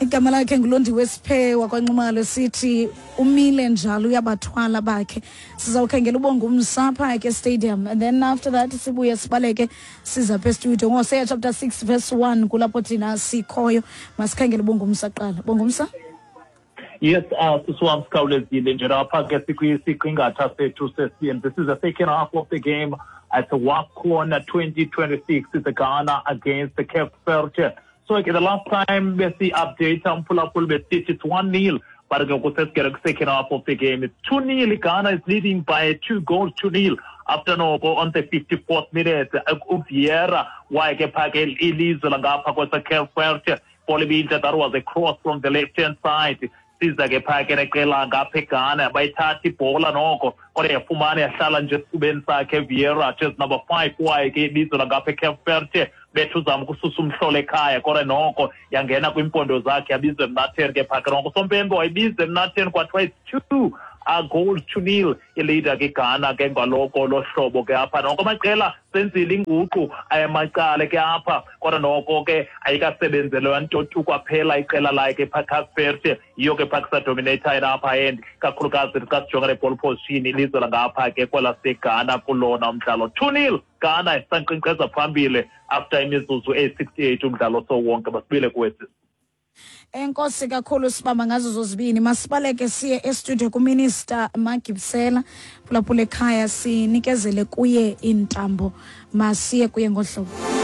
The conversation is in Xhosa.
Igama lakhe nguLondiwe Siphe wakwaNxumalo, sithi umile njalo uyabathwala bakhe. Sizawukhangela uBongumsa phaa ke stadium, and then after that sibuye sibaleke siza pha estudio ngoHosea chapter 6 verse 1, kulapho thina sikhoyo. Masikhangele uBongumsa kuqala. Bongumsa? Yes, sisi wam, sikhawulezile nje lapha ke sikwisiqingatha sethu sesibini. This is the second half of the game at the WAFCON 2026. It's the Ghana against the Cape Verde. So ke the last time besi-update umphulaphuli besithi it's 1-0, but ke ngoku sesigele kwi-second half of the game. It's 2-0. Ghana is leading by 2 goals to 0 after noko on the 54th minute uVieira waye ke phaa ke ilizwe langapha kwase-Cape Verde. Bhola ibintle, that was a cross from the left hand side. Siza ke phaa ke neqela ngapha eGhana, bayithatha ibhola noko, kodwa yafumana yahlala nje esifubeni sakhe Vieira, jersey number 5 waye ke ibizo langapha eCape Verde. Bethu uzama ukususa umhlolo ekhaya, kodwa noko yangena kwimpondo zakhe, yabizwa emnatheni ke phaa ke noko. Sompempe wayibiza emnatheni, kwathiwa it's 2 goals to 0. I-leader ke Ghana ke ngaloko lo hlobo ke apha noko. Amaqela senzile inguqu ayamacala ke apha, kodwa noko ke ayikasebenzelwa nto tu kwaphela. Iqela lakhe phaa Cape Verde yiyo ke phaa kusadominate apha, and kakhulukazi xa sijonga le-ball possession, ilizwe langapha ke kwelaseGhana kulona umdlalo. 2-0, Ghana isankqenkqeza phambili after imizuzu eyi-68 umdlalo sowonke. Basibile kuwesi. Enkosi kakhulu, sibamba ngazo zozibini. Masibaleke siye estudio kuMinister Magibisela. Phulaphula ekhaya, sinikezele kuye iintambo, masiye kuye ngohlobo.